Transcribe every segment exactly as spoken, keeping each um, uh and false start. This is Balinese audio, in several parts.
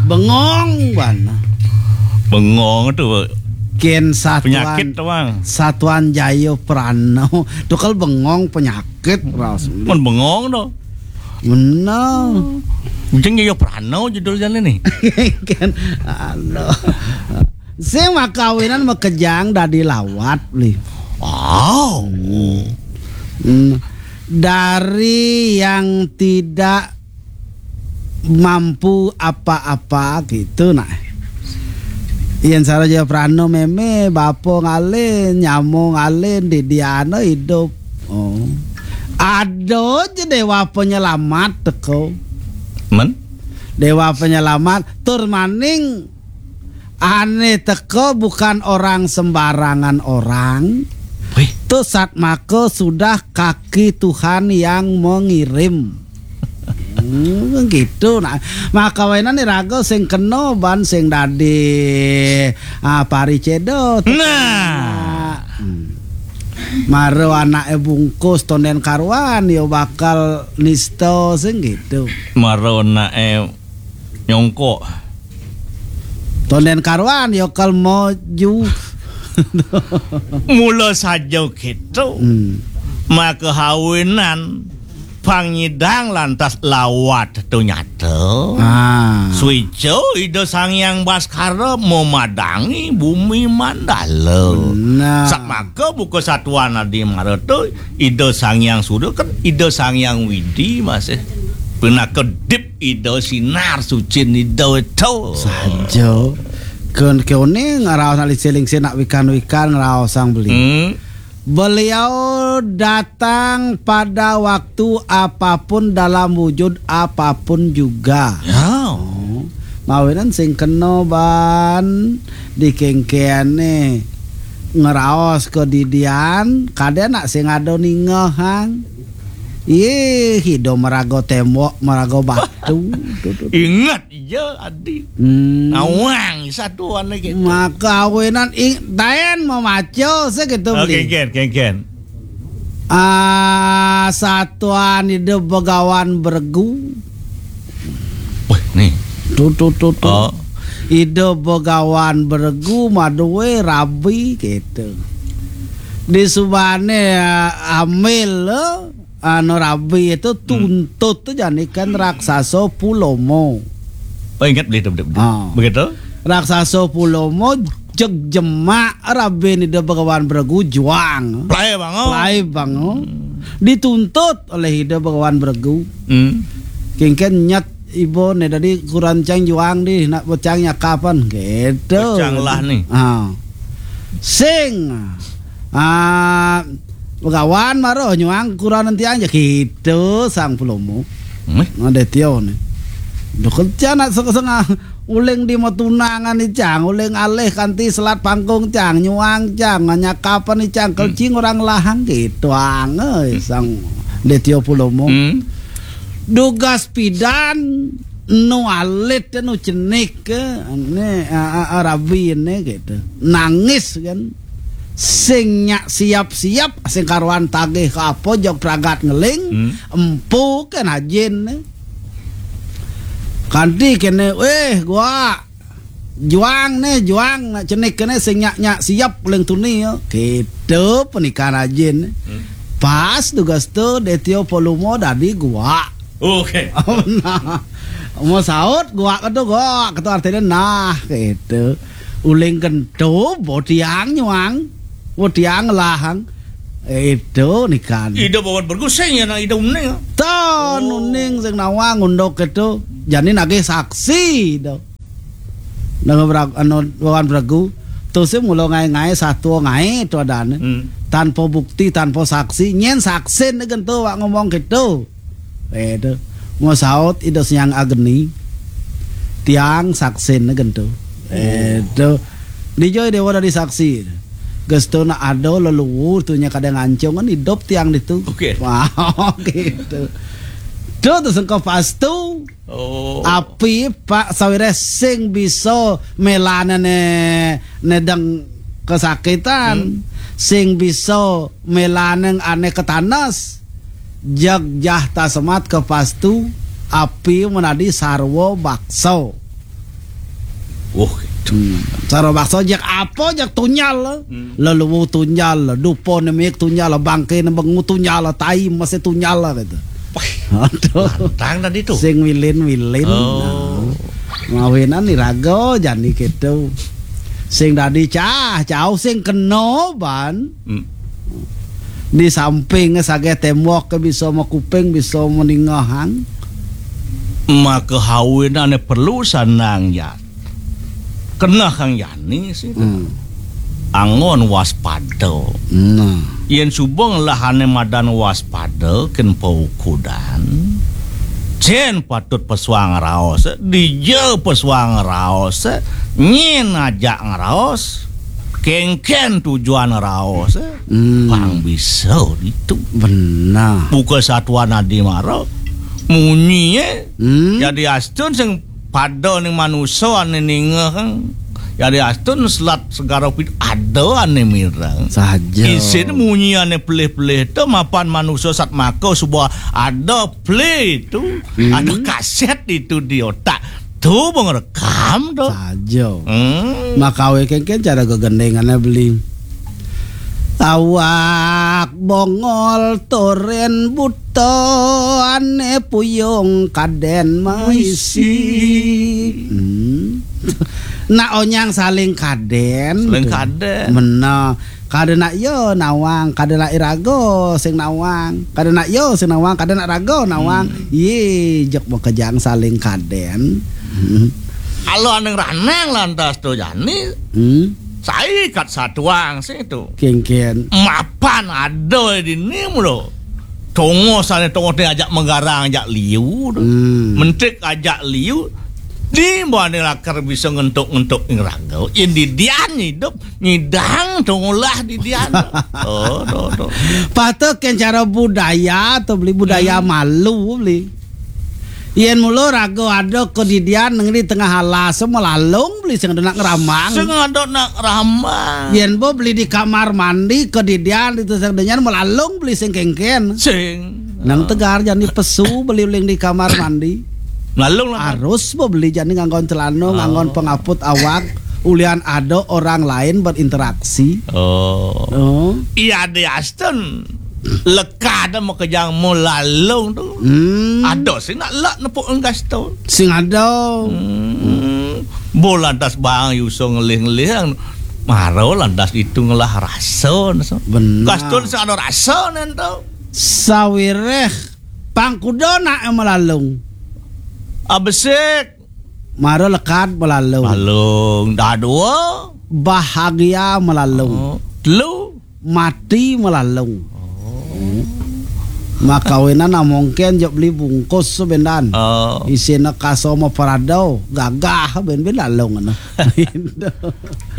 Bengong bana. Bengong tu kén satuan penyakit tu, Bang. Satuan Jaya Prana. Tu kal bengong penyakit ras. Mun bengong tu. Benar. Ujang Jaya Prana judul jalan ni. Kan, aduh. Sing makawinan makejang dadi lawat, Bli. Oh. Hmm. Dari yang tidak mampu apa-apa gitu, nah. Yén sara Jaya Prana mémé, bapa ngalih, nyama ngalih, didiana idup. Oh. Ada aja déwa penyelamat teko. Men? Déwa penyelamat, tur maning ané teka bukan orang sembarangan orang. Wih. Tu satmaka sudah kaki Tuhan yang mengirim. Hmm, gitu. Nah, makawinan iraga sing kena ban sing dadi, ah, pariceda. Nah. Hmm. Mara anaké bungkus tondén karuan ya bakal nista sing gitu. Mara anaké nyongkok. Tondén karuan ya kal maju. Mula saja gitu. Hmm. Maka hawinan pangidang lantas lawat tu nyata. Ah. Suica Ida Sang Hyang Baskara memadangi bumi mandala. Benar. Satmaka buka satuan adi mara tu Ida Sang Hyang Surya kan Ida Sang Hyang Widi masih pinaka dip Ida sinar suci Ida itu. Saja. Kén kéné ngaraos nak lingsir-lingsir nak wikan-wikan ngaraos Sang Beli. Hmm. Beliau datang pada waktu apapun dalam wujud apapun juga. Ya. Oh. Mawinan sing kena ban dikéngkéné ngeraos kadidian, kadén nak sing ada ningehang. Yé, hidup meraga tembok, meraga batu. Tu, tu, tu. Ingat Iya, adi. Hmm. Nawang satuan lagi. Maka awinan ing taén mamaca sakitu. Oh, beli. Kéngkén, kéngkén. Ah, satuan Ida Begawan Beregu. Wah, nih. Tu, tu, tu, tu. Oh. Ida Begawan Beregu madué rabi gitu. Di subané, ah, amil, eh, anu rabi itu tuntut tu jani kan raksasa Pulomo. Oh, ingat beli tu, beli, beli. Ah. Begitu? Raksasa Pulomo jeg jemak rabi ni Ida Begawan Beregu juang. Pelai bango. Pelai bango. Hmm. Dituntut oleh Ida Begawan Beregu. Hmm. Kéngkén nyet ibu ni tadi kurang cang juang di nak bocang nyakapan gitu. Bocang lah ni. Ah. Sing. Ah, Begawan maro nyuang kuranan tiang ja kitu Sang Pulomo. Meh. Ada tio ni. Duh kerja nak sengah-sengah uling di matunangan ni cang, uling alih kanti selat pangkung cang, nyuang cang, nyakapan ni cang, kelcing orang lahang gitu ang, eh, Sang Detio Pulomo. Hmm. Dugas pidan nu alit nu cenik ke, ne, a, a, a, rabi ne gitu. Nangis kan. Sing nyak siap-siap, sing karuan tagih ke apa, jog pragat ngeling, hmm, empu kan ajin ne. Kanti kene, "Weh, gua juang ne, juang nak cenik kene sing nyak-nyak siap leng tuni ya." Gitu penikan ajin. Hmm. Pas tugas tu Detio Polumo dadi gua. Oke. Nah, mau saut gua ketu gua ketu artinya nah gitu. Uling kento botiang nyuang. Botiang lahang. Itu nikan. Ida bawan bergusing ya nak ida uning. Ton, oh, uning sing nawang unduk itu. Jani nagih saksi do. Nang berag-, anu, bawan beregu. Tu si mula ngai-ngai satu ngai tu adane. Hmm. Tanpa bukti, tanpa saksi. Nyen saksi ni gentu wak ngomong gitu. Eh, tu. Mau saut Ida Siang Agni. Tiang saksi ni gentu. Eh, oh, tu. Dijoi dewa dari saksi. Gestu nak ada leluhur tu nya kadang ancung kan hidup tiang ditu. Oke. Wah, gitu. Tu tu sengkau pastu. Oh. Api Pak sawireh sing bisa melane ne, nedeng kesakitan, hmm, sing bisa melane ane ketanes, jag jah tasemat ke pastu, Api menadi sarwa baksa. Oh, gitu. Hmm. Sarwa baksa jak apa, jak tunjal. Hmm. Leluwu tunjal, dupa nemik tunjal, bangke nembengu tunjal, tai masih tunjal gitu. Wah, aduh. Lantang tadi tuh. Sing wilin-wilin. Oh. Nah. Mawinan iraga jani gitu. Sing dadi cah, cau sing kena ban. Hmm. Di samping sageh tembok ke bisa makuping, bisa meningahang. Maka hawinane perlu sanang ya. Kena kang jani sih. Hmm. Anggon waspada. Nah. Yen suba ngelahane madan waspada ken paukudan. Cen patut pesuang raos, dija pesuang raos, nyen ajak ngeraos, kengken tujuan raos, hmm, pang bisa ditu. Benar. Buka satuan adi mara, munyi, hmm, jadi astun sing pada ning manusa ane ninga kang. Jadi astun selat segara pid ada ane mireng. Saja. Isin munyi ane pelih-pelih tu mapan manusa sat maka suba ada play tu. Hmm. Ada kaset itu di otak. Tu pengrekam tu. Saja. Hmm. Makawe kengken cara gegendengane beli. Awak bongol toren buta ane puyung kaden maisi. Hmm. Nak onyang saling kaden. Saling kaden. Mena. Kada nak ya nawang, kada nak iraga sing nawang, kada nak ya sing nawang, kada nak raga nawang. Hmm. Ye, jek makejang saling kaden. Hmm. Kalau aneng raneng lantas tu jani. Hmm. Sai kat satuang sing tu. Kengken. Mapan ada di ni mula. Tongos ane tongos ni ajak menggarang, ajak liu tu. Hmm. Mentik ajak liu. Di mana lakar bisa ngentuk-ngentuk ing raga. Yen di dian hidup, nyidang tu ngolah di dian. Oh, tu, tu. Patut ken cara budaya tu beli, budaya, hmm, malu beli. Yen mula raga ada kedidian nang di tengah alas, melalung beli sing ada nak ngeramang. Sing ada nak ramang. Yen bo beli di kamar mandi kedidian itu sing dengan melalung beli sing kengken. Sing. Nang tegar jani pesu beli uling di kamar mandi. Melalung lah. Harus bo beli jani nganggon celana, oh, nganggon pengaput awak. Ulian ada orang lain berinteraksi. Oh. Oh. Iya, di Aston. Lekad makejang melalung tu. Hmm. Ada sing nak lak nepuk enggas tu. Sing ada. Hmm. Bo lantas bang yuso ngelih-ngelih. Maro lantas itu ngelah rasa. Benar. Kaston sing ada rasa nen tu. Sawireh pangkuda nak melalung. Abesik. Mara lekad melalung. Melalung. Dah dua. Bahagia melalung. Oh. Telu. Mati melalung. Oh. Hmm. Makawinan amongken jok beli bungkus sebendan. Oh. Isina kasoma parado, gagah ben-ben lalung ana.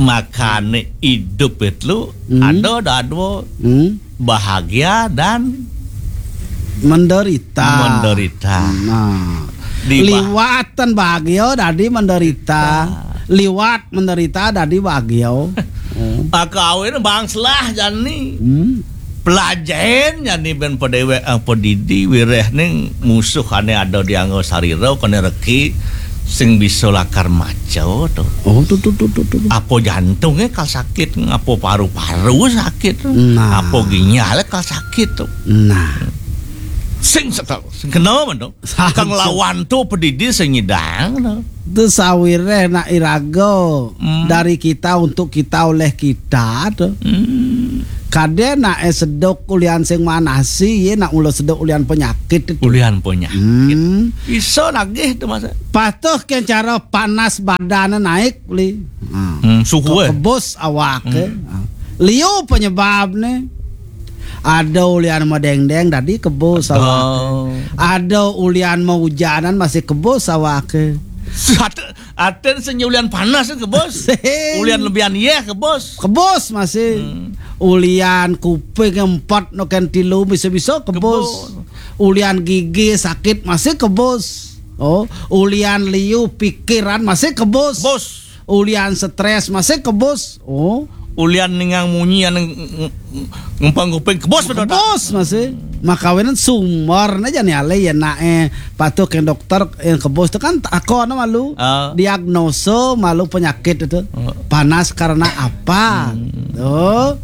Makane idup itu, hmm, ada dah dua. Hmm. Bahagia dan menderita. Menderita. Nah, di bah- liwatan bahagia dadi menderita. Nah. Liwat menderita dadi bahagia. Hmm. Maka awin bangselah jani. Hmm. Pelajain jani ben pedewek, eh, pedidi wireh ning musuh ane ada di anggo sarira kene reki sing bisa lakar maca to. Oh, tu, tu, tu, tu, tu. Apa jantunge kal sakit, apa paru-paru sakit, nah, apa ginjal kal sakit to. Nah. Sing setel, sing kena man to. Sakit. Kang lawan tu pedidi sing nyidang to. Tu sawireh nak iraga, hmm, dari kita untuk kita oleh kita to. Hmm. Kade nak e sedok ulian sing manasi, ye nak mula sedok ulian penyakit itu. Ulian penyakit. Hmm. Iso nagih tu masa. Patuh ke cara panas badan naik beli. Ha. Hmm, suhu, eh. Kebus awak, eh. Hmm. Ha. Liu penyebab ni. Ada ulian medengdeng tadi kebus awak, eh. Ada ulian maujanan masih kebus awak, eh. Sat-, aten sing ulian panas ke, Bos? Sing. Ulian lebihan yeh ke, Bos? Ke, Bos, masih. Hmm. Ulian kuping empat noken tilu bisa-bisa ke, Bos. Ke, Bos. Ulian gigi sakit masih ke, Bos. Oh, ulian liu pikiran masih ke, Bos. Bos. Ulian stres masih ke, Bos. Oh. Ulian ningang munyi anu ng-, ng-, ngempang kuping kebos betul tak? Kebos masih. Makawinan sumber aja nih ale ya nak eh patuh ke dokter yang kebos itu kan aku anu malu Ah. Diagnosa malu penyakit itu. Oh. Panas karena apa? Hmm. Tuh.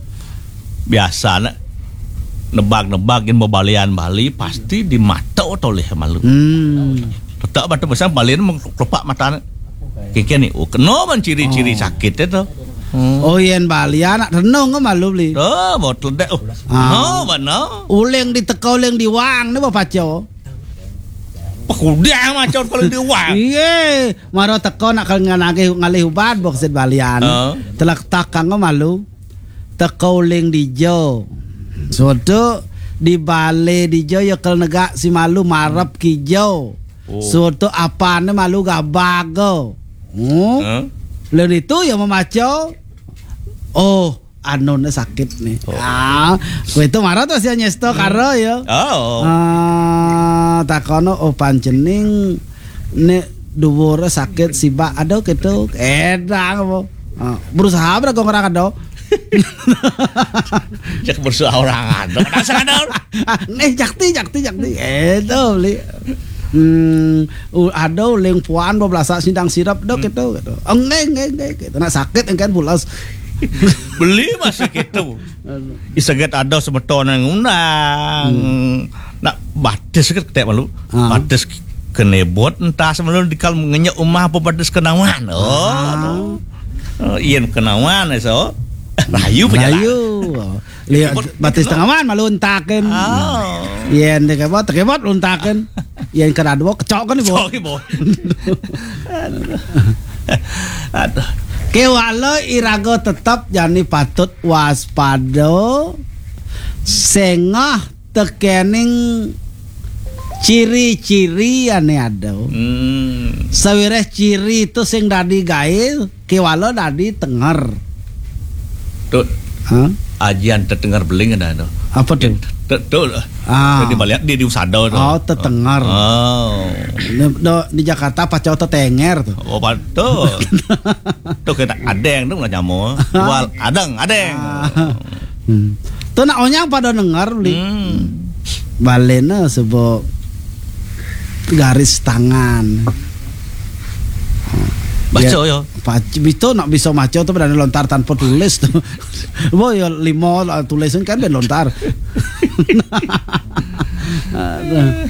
Biasa nak nebak-nebak yang bebalian Bali pasti di mata oleh malu. Hmm. Tetap batu besar balian mengkelopak mata. Kiki nih, oh, kena ban ciri-ciri Oh. Sakit itu. Hmm. Oh, yen Bali anak renung ke malu beli. Oh, botol dek. Oh. Ah. No, mana? Uling di teko, uling di wang, ni apa paco? Pekudang macam kalau di wang. Iye, maro teko nak kalau ngalih, ngalih ubat boksit Balian. Oh. Telak takang ke malu. Teko uling di jo. Soto di bale di jo ya kel negak si malu marep ki jo. Oh. Soto apane malu gabago. Hmm? Huh? Lalu itu ya memaco. Oh, anone sakit nih. Oh. Ah, kowe itu marah tuh si Anyesto karo ya. Oh. Ah, takono oh pancening nek dhuwur sakit sibak aduh gitu. Edang apa? Ah, berusaha berapa orang ada? Cek berusaha orang ada. Dasar ada. Nih jakti jakti jakti. Itu beli. Hmm, u- ada uling puan dua belas sidang sirap dok itu gitu. Oh, enggak enggak enggak gitu. Nah sakit kan pulas. Beli masih gitu. Iseget ada semeton yang undang. Hmm. Nak batis kan ketek malu. Ah. Batis kenebot entah semalu dikal ngenyek umah apa batis kenawan. Oh. Ah. Oh, iya kenawan so. Rayu pejalan. Rayu. Lihat batis tengawan malu entakin. Oh. Yen tekebot tekebot lu entakin. Yen kena dua kecok kan ibu. Sorry boy. Aduh. Aduh. Kewala iraga tetep jani patut waspada sengah tekening ciri-ciri ane ada. Hmm. Sawireh ciri itu sing dadi gae kewala dadi tenger. Tuh. Hah? Ajian tetenger beling ada tuh. Apa tuh? Tuh, tuh. Ah. Tuh di balik di di usada tuh. Oh, tetenger. Oh. Di, do, di Jakarta paco tetenger tuh. Oh, pa- tuh. Tuh kita adeng tuh nggak nyamuk. Wal adeng, adeng. Ah. Hmm. Tuh nak onyang pada denger beli. Hmm. Balena sebab garis tangan. Baca ya. Pac- itu nak bisa maca tuh pada lontar tanpa tulis tuh. Boh ya lima lah, tulisan kan ben lontar. Aduh.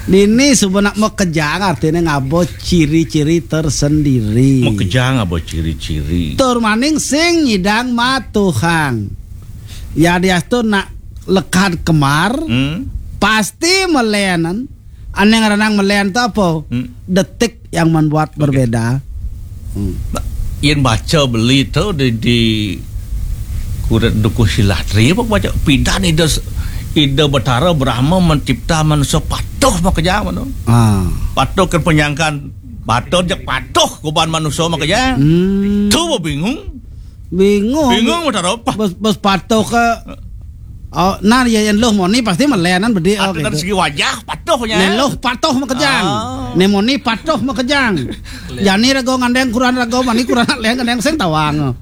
Ini sebenak mekejang artinya ngabo ciri-ciri tersendiri. Mekejang ngabo ciri-ciri. Tur maning sing nyidang matuhang. Ya diastu nak lekad kemar, Hmm. Pasti melenan. Ane ngaranang melen tu apa? Hmm. Detik yang membuat Oke. Berbeda. Hmm. Nah, yen baca beli tu di, di kuret dukuh silatri apa baca pidan ida ida Betara Brahma mencipta manusia patuh makejang tu. Ah. Patuh ke penyangkan batur jak patuh kuban manusia makejang. Hmm. Tu bingung. Bingung. Bingung Betara apa? Bes, bes patuh ke Oh, nah ya yang loh moni pasti melenan bedi oh, gitu. Dari segi wajah patuhnya. Ne loh patuh makejang. Ah. Ne moni patuh makejang. Jani rego ngandeng kurang rego mani kurang leh ngandeng sing tawang.